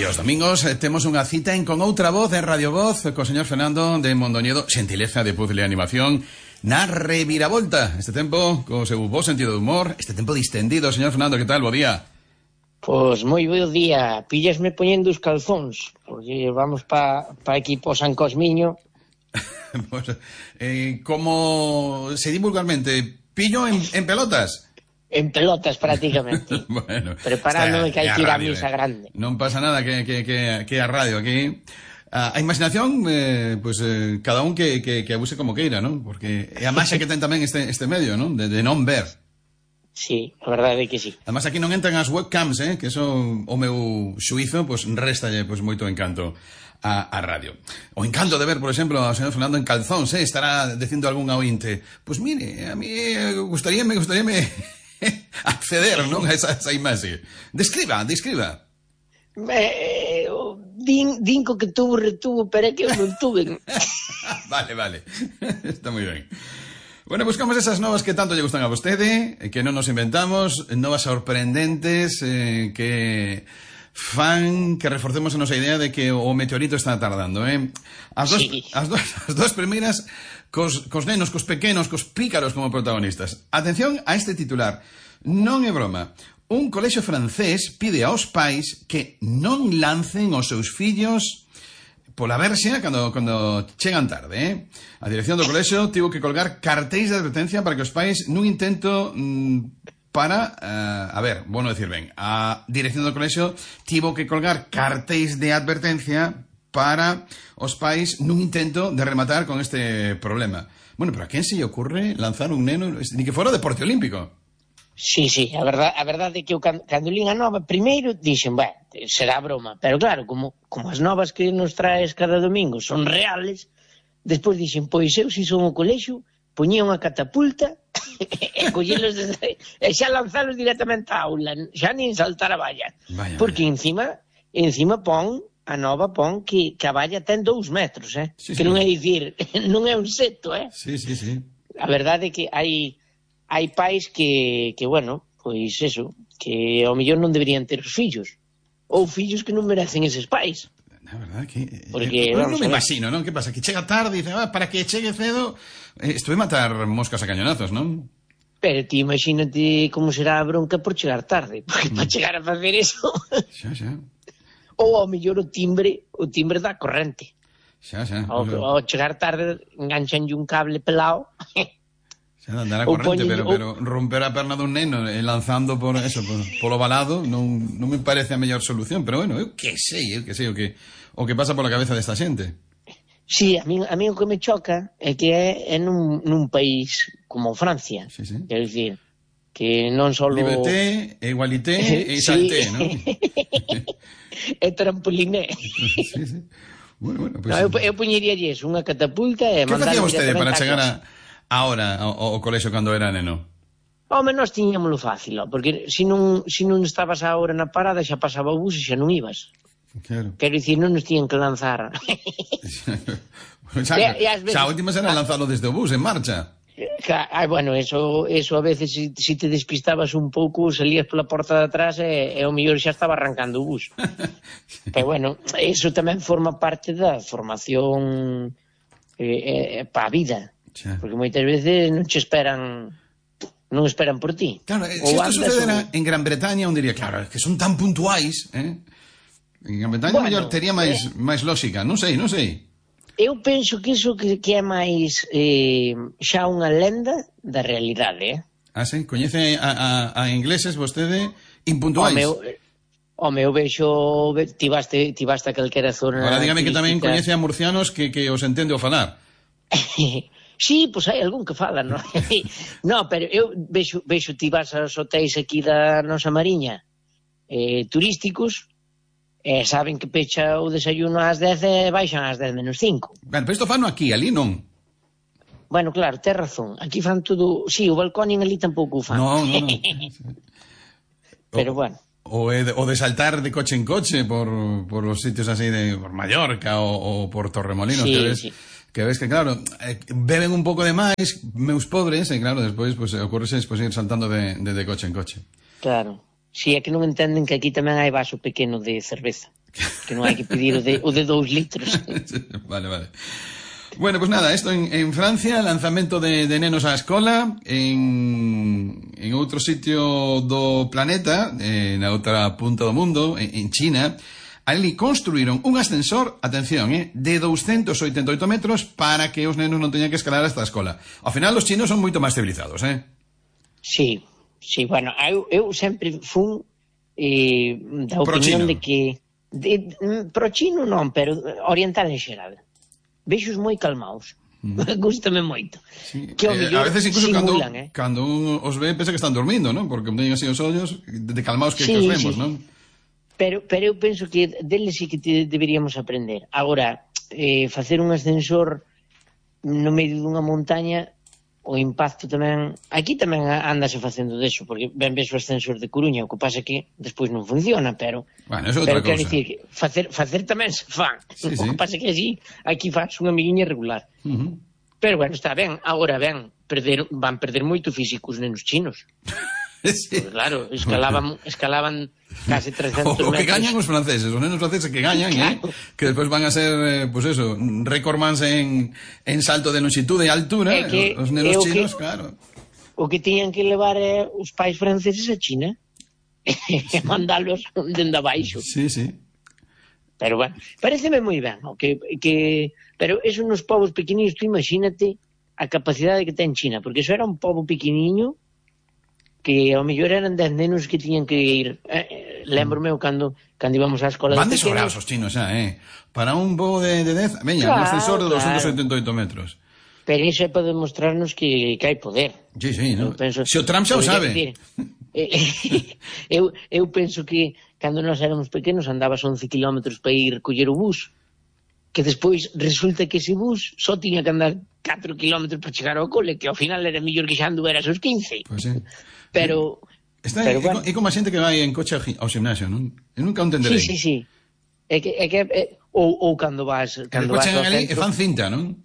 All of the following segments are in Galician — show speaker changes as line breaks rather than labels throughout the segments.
E os domingos temos unha cita en Con Outra Voz en Radio Voz co señor Fernando de Mondoñedo, xentileza de puzzle e animación na reviravolta. Este tempo, co seu bo sentido de humor, este tempo distendido. Señor Fernando, que tal? Bo día.
Pois moi bo día. Píllasme poñendo os calzóns, porque vamos pa aquí po San Cosmiño.
Pues, como se di vulgarmente, pillo en pelotas?
En pelotas, prácticamente.
Bueno,
preparándome que hai que ir a misa grande.
Non pasa nada que a radio aquí. A imaginación, cada un que abuse como queira, ¿no? Porque é a máxia que ten tamén este medio, ¿no? De non ver.
Sí, a verdade é que sí.
Además aquí non entran as webcams, que eso o meu xuízo, réstalle moito encanto a radio. O encanto de ver, por exemplo, ao señor Fernando en calzóns, estará dicindo algún ointe. Pois mire, a mí gustaríame acceder, non, a esa imaxe. Describa.
Din co que tuvo retuvo, pero é que eu non tuve.
Vale. Está moi ben. Bueno, buscamos esas novas que tanto lle gustan a vostede, que non nos inventamos, novas sorprendentes, que fan que reforcemos a nosa idea de que o meteorito está tardando, As dos primeiras cos nenos, cos pequenos, cos pícaros como protagonistas. Atención a este titular. Non é broma. Un colexio francés pide aos pais que non lancen os seus fillos pola verxa cando chegan tarde, A dirección do colexio tivo que colgar cartéis de advertencia para que os pais nun intento a dirección do colexio tivo que colgar cartéis de advertencia para os pais nun intento de rematar con este problema. Bueno, pero a quen se lle ocurre lanzar un neno ni que fora deporte olímpico?
Sí, a verdade é que eu cando lín a nova primeiro dixen, será broma, pero claro, como as novas que nos traes cada domingo son reales, despois dixen, pois eu se son o colexio poñía unha catapulta e collelos e xa lanzalos directamente á aula, xa nin saltar a valla. Porque encima a nova pon que a valla ten 2 metros,
Sí,
que non é dicir, non é un seto,
Sí.
A verdade é que hai pais que bueno, pois eso, que ao mellor non deberían ter os fillos, ou fillos que non merecen eses pais.
Na verdade que
porque
non me imagino, non? Que pasa? Que chega tarde e dice, para que chegue cedo, estuve matar moscas a cañonazos, non?
Pero ti imagínate como será a bronca por chegar tarde, porque para chegar a facer eso
xa.
Ou ao mellor o timbre da corrente.
Xa.
Ao chegar tarde enganchanlle un cable pelado.
Xa de andar a corrente, pero romper a perna dun neno lanzando polo valado non me parece a mellor solución, pero bueno, eu que sei o que pasa pola cabeza desta xente.
Sí, a mí o que me choca é que é nun país como Francia.
Sí.
Quero dicir, que non só
Liberté, igualité e salté, non?
E trampoliné.
Sí. Bueno, pues...
eu poñeríalles unha catapulta e mandar...
Que facía vostede para chegar ahora ao colexio cando era neno?
Home, nós tiñámoslo fácil, porque se non estabas ahora na parada xa pasaba o bus e xa non ibas.
Claro.
Quero dicir, non nos tiñan que lanzar.
Xa últimas era lanzarlo desde o bus en marcha.
Bueno, eso a veces si te despistabas un pouco, salías pola porta de atrás e ao mellor xa estaba arrancando o bus. Pero bueno, eso tamén forma parte da formación para a vida. Porque moitas veces non esperan por ti.
Claro, se isto sucedera en Gran Bretaña, un diría, claro, que son tan puntuais, En Gran Bretaña mellor tería máis lógica, non sei.
Eu penso que iso que é máis xa unha lenda da realidade,
sí? Coñece a ingleses vostede impuntuais?
Home, eu vexo, ti vaste a calquera zona...
Ahora dígame que tamén coñece a murcianos que os entende o falar.
Sí, pois hai algún que fala, non? No, pero eu vexo ti vas aos hotéis aquí da nosa Mariña turísticos e saben que pecha o desayuno ás 10 e baixan ás 10 menos 5.
Pero isto fano aquí, ali non.
Bueno, claro, ten razón. Aquí fan todo... Sí, o balcón ali tampouco o fan.
No.
Pero bueno.
O de saltar de coche en coche por os sitios así por Mallorca ou por Torremolinos,
sí.
Que ves que, claro, beben un pouco de máis, meus pobres, e claro, despois ocurrese ir saltando de coche en coche.
Claro. Si é que non entenden que aquí tamén hai vaso pequeno de cerveza. Que non hai que pedir o de 2 litros.
Vale. Bueno, pues nada, esto en Francia, lanzamento de nenos á escola, en outro sitio do planeta, na outra punta do mundo, en China, ali construíron un ascensor, atención, de 288 metros para que os nenos non teñan que escalar hasta a escola. Ao final, os chinos son moito máis civilizados,
Sí, bueno, eu sempre fun da opinión de que pro chino non, pero oriental en xeral. Vexos moi calmaos. Gústame moito.
Sí. A veces incluso
simulan,
cando un os ve pensa que están dormindo, non? Porque teñen así os ollos de calmaos que os vemos, non?
Pero eu penso que deles sí que deberíamos aprender. Agora, facer un ascensor no medio dunha montaña, o impacto tamén... Aquí tamén andase facendo deso, porque ben ves o ascensor de Coruña, o que pasa que despois non funciona, pero...
Bueno, eso é outra cousa.
Quero dicir que facer tamén se fan.
Sí.
O que pasa que así, aquí faz unha amiguinha regular. Pero bueno, está ben. Agora van perder moito físico os nenos chinos.
Sí.
Pues claro, escalaban casi 300 metros.
O que gañan os franceses, os nenos franceses que gañan, claro. Que despois van a ser, pues eso, recordmans en salto de longitud e altura, os nenos chinos, claro.
O que tiñan que levar os pais franceses a China e mandalos dende abaixo.
Sí.
Pero bueno, pareceme moi ben, pero eso nos povos pequeninos, tú imagínate a capacidade que ten China, porque eso era un pobo pequeniño que ao mellor eran 10 nenos que tiñan que ir. Lembro-me cando íbamos á escola
van de sobrados os chinos xa, para un pobo de 10, veña, claro, un ascensor de 288 metros.
Pero iso é para demostrarnos que hai poder.
Sí, no? Se o Trump xa o sabe.
Eu penso que cando nós éramos pequenos andabas 11 kilómetros para ir coller o bus, que despois resulta que ese bus só tiña que andar 4 kilómetros para chegar ao cole, que ao final era mellor que xa anduveras os 15.
Pois sí.
Pero
bueno. É como a xente que vai en coche ao gimnasio, non? Eu nunca o entenderei.
Sí. É que ou cando vas ao
centro, e fan cinta, non?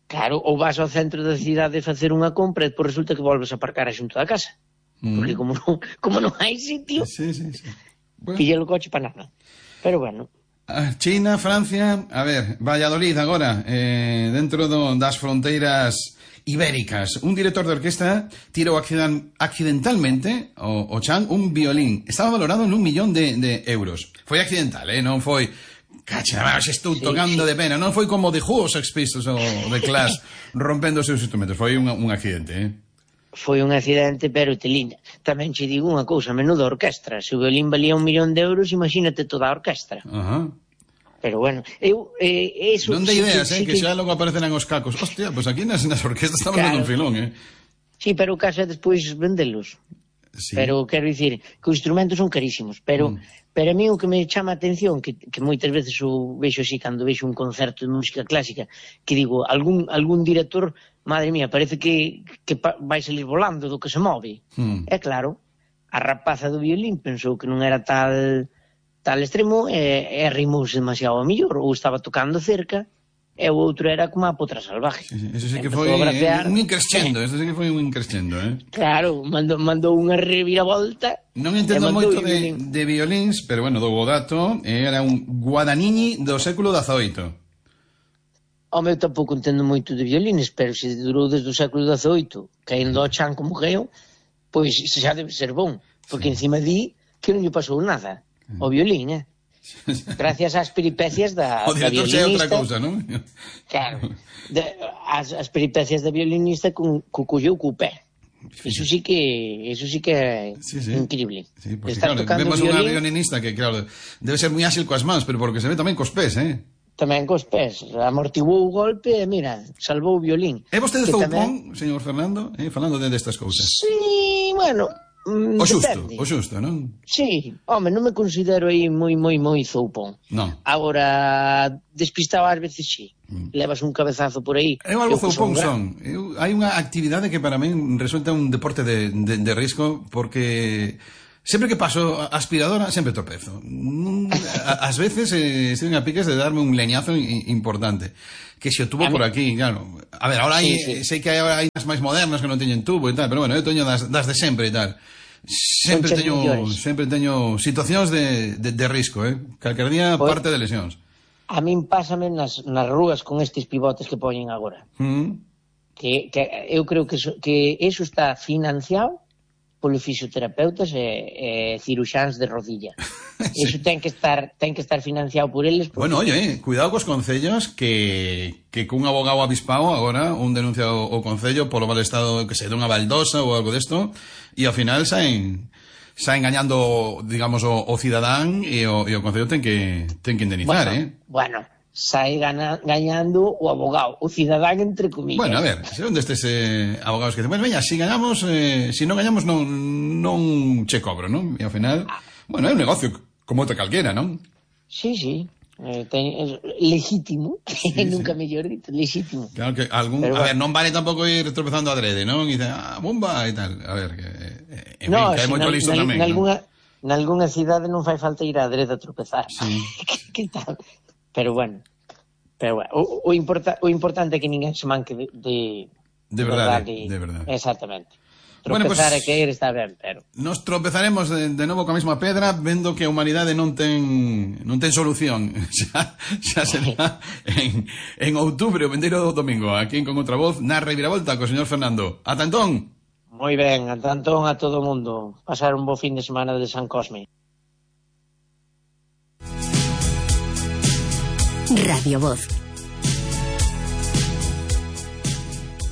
Claro, ou vas ao centro da cidade facer unha compra e depois resulta que volves a aparcar xunto da casa. Porque como non hai sitio,
sí.
Bueno. Pilla o coche para nada. Pero bueno.
China, Francia, a ver, Valladolid agora, dentro das fronteiras ibéricas. Un director de orquesta tirou accidentalmente o chan un violín. Estaba valorado en 1 millón de euros. Foi accidental, non foi... Cacha, estou tocando de pena. Non foi como The Who, Sex Pistols ou The Clash rompendo os seus instrumentos. Foi un accidente,
Foi un accidente, pero telinda. Tamén che digo unha cousa, menuda orquestra. Se o violín valía 1 millón de euros, imagínate toda a orquestra. Pero bueno,
non de ideas, que xa logo aparecerán os cacos. Hostia, pois aquí nas orquestas estamos dando un filón,
Sí, pero o caso é despois vendelos. Sí. Pero quero dicir que os instrumentos son carísimos, pero a mí o que me chama a atención, que moitas veces o vexo así cando vexo un concerto de música clásica, que digo, algún director, madre mía, parece que vai salir volando do que se move. É claro, a rapaza do violín pensou que non era tal extremo e rimouse demasiado a millor, ou estaba tocando cerca, e o outro era como a potra salvaje.
Eso sí que foi un increscendo, Claro,
mandou unha reviravolta.
Non entendo moito de violíns, pero bueno, do dato, era un Guadagnini do século XVIII.
Home, eu tampouco entendo moito de violines, pero se durou desde o século XVIII, caendo ao chan como caeu, pois xa debe ser bon, porque encima di que non lle pasou nada ao violín, gracias ás peripecias da violinista. O director xa é outra cousa, non? Claro, as peripecias da violinista co colleu co pé. Eso sí que é increíble.
Sí, porque claro, vemos unha violinista que, claro, debe ser moi áxil coas mans, pero porque se ve tamén cos pés,
Tamén cos pés, amortiguou o golpe e, mira, salvou o violín.
É vostede zoupón, señor Fernando, falando destas cousas?
Sí, bueno...
O xusto, non?
Sí, home, non me considero aí moi zoupón.
Non.
Agora, despistado ás veces sí. Levas un cabezazo por aí.
Eu algo zoupón son. Hai unha actividade que para min resulta un deporte de risco, porque sempre que paso a aspiradora sempre tropezo. Ás veces estoy a piques de darme un leñazo importante. Que se o tubo por aquí, claro. A ver, ahora sei que hai máis modernas que non teñen tubo e tal, pero bueno, eu teño das de sempre e tal. sempre teño situacións de risco, calquer día parte de lesións.
A min pásame nas rúas con estes pivotes que poñen agora. Que eu creo que eso está financiado polos fisioterapeutas e ciruxáns de rodilla. Sí. Eso ten que estar financiado por eles.
Bueno, oye, cuidado cos concellos que cun abogado avispado agora un denuncia o concello polo mal estado, que se dunha baldosa ou algo desto, e ao final saen gañando, digamos, o cidadán e o concello ten que indemnizar,
Bueno, sai gañando o abogado, o cidadán entre comillas.
Bueno, a ver, onde estes abogados que dicen, bueno, veña, si gañamos, si non gañamos non che cobro, non? E ao final, bueno, é un negocio como outra calquera, non?
Sí, legítimo, nunca mellor dito, legítimo.
Claro que a ver, non vale tampouco ir tropezando adrede, non? E dicen, bomba e tal, a ver, en fin, que hai moito listo tamén.
Nalgúna cidade non fai falta ir adrede a tropezar.
Sí.
Que tal? Pero bueno, o importante é que ninguén se manque de verdade. Exactamente. Tropezar e caer está ben, pero...
Nos tropezaremos de novo coa mesma pedra, vendo que a humanidade non ten solución. Xa será en outubro, o vindeiro domingo, aquí Con Outra Voz, na Reviravolta, co señor Fernando. Ata entón.
Moi ben, ata entón a todo o mundo. Pasar un bo fin de semana de San Cosme.
Radio Voz.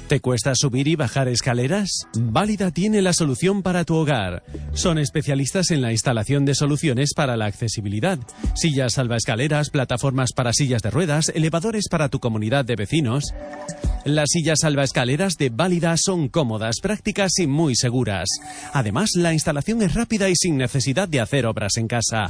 ¿Te cuesta subir y bajar escaleras? Válida tiene la solución para tu hogar. Son especialistas en la instalación de soluciones para la accesibilidad. Sillas salvaescaleras, plataformas para sillas de ruedas, elevadores para tu comunidad de vecinos. Las sillas salvaescaleras de Válida son cómodas, prácticas y muy seguras. Además, la instalación es rápida y sin necesidad de hacer obras en casa.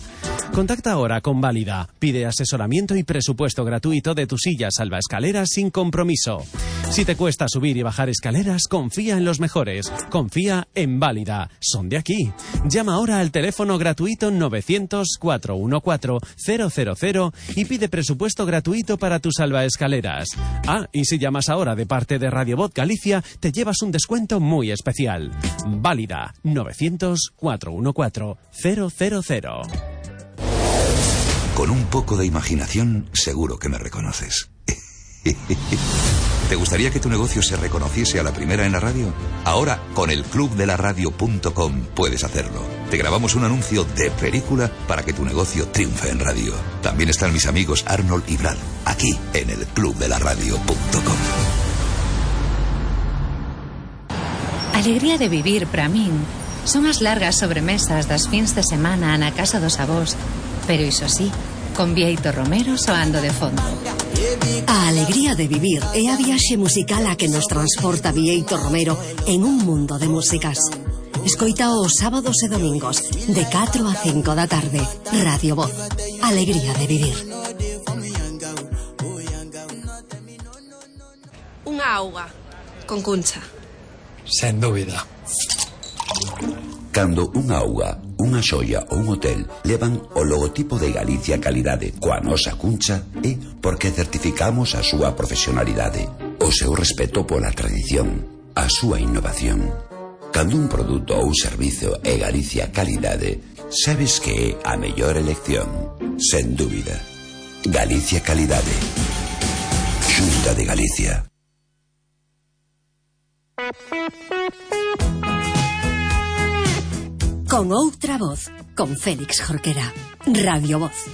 Contacta ahora con Válida. Pide asesoramiento y presupuesto gratuito de tu silla salvaescaleras sin compromiso. Si te cuesta subir y bajar escaleras, confía en los mejores. Confía en Válida. Son de aquí. Llama ahora al teléfono gratuito 900-414-000 y pide presupuesto gratuito para tu salvaescaleras. Y si llamas ahora de parte de Radio Voz Galicia, te llevas un descuento muy especial. Válida. 900-414-000.
Con un poco de imaginación, seguro que me reconoces. ¿Te gustaría que tu negocio se reconociese a la primera en la radio? Ahora, con el clubdelaradio.com puedes hacerlo. Te grabamos un anuncio de película para que tu negocio triunfe en radio. También están mis amigos Arnold y Brad, aquí en el clubdelaradio.com.
Alegría de vivir para min son as largas sobremesas das fins de semana na casa dos avós, pero iso sí, con Bieito Romero soando de fondo.
A alegría de vivir é a viaxe musical a que nos transporta Bieito Romero en un mundo de músicas. Escoita os sábados e domingos de 4 a 5 da tarde. Radio Voz. Alegría de vivir.
Unha auga con Cuncha.
Sen dúbida.
Cando unha auga, unha xoia ou un hotel levan o logotipo de Galicia Calidade coa nosa Cuncha, é porque certificamos a súa profesionalidade, o seu respeto pola tradición, a súa innovación. Cando un produto ou un servizo é Galicia Calidade, sabes que é a mellor elección, sen dúbida. Galicia Calidade. Xunta de Galicia.
Con Outra Voz, con Félix Jorquera. Radio Voz.